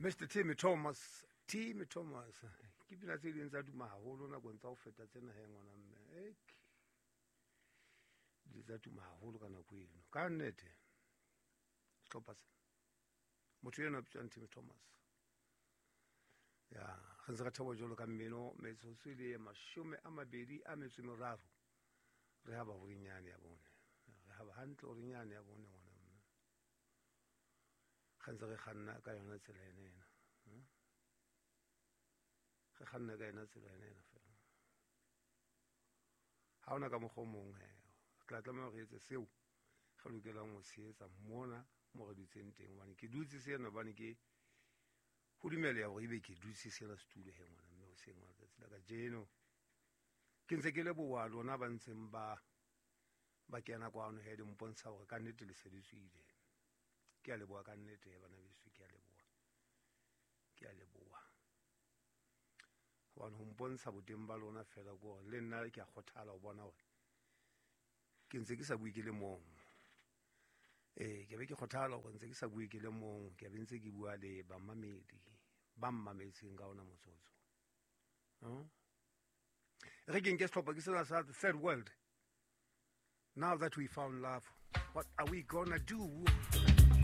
Mr Timmy Thomas, Timmy Thomas, ke pina tse ding tsa duma haholo nakong tsa ho feta tsena he ngwana mme. Ek di tsa tuma haholo ka nako eno. Ka nnete sehlopha sena, motho eno a bitswang Timmy Thomas. Ya re ntse re thabo jwalo ka mmino, metsotso e le 23. Re haba horinyane ya bone, re haba hantle horinyane ya bone ngwana mme. Re ntse re kganna ka yona tsela ena ena, re kganna ka yona tsela ena ena fela. Ha hona ka mokgwa o mong he, re tla tlameha hore re etse seo re lokelang ho se etsa mona mo re dutseng teng, hobane ke dutse sena hobane ke ho dumeleha hore ebe ke dutse sena setulo he ngwana mme hoseng wa letsatsi la kajeno. Ke ntse ke leboha lona ba ntseng ba kena kwano he, di mpontsha hore ka nnete le se le tswile. Ke a leboha ka nnete he bana beso, ke a leboha, ke a leboha. Hobane ho mpontsha boteng ba lona fela ke hore le nna ke a kgothala ho bona hore ke ntse ke sa bue ke le mong. Ke be ke kgothala hore ntse ke sa bue ke le mong, ke be ntse ke bua le bamamedi ba mmametseng ka ona motsotso. Re ke nke sehlopha ke sena sa The Third World. Now that we found love, what are we gonna do?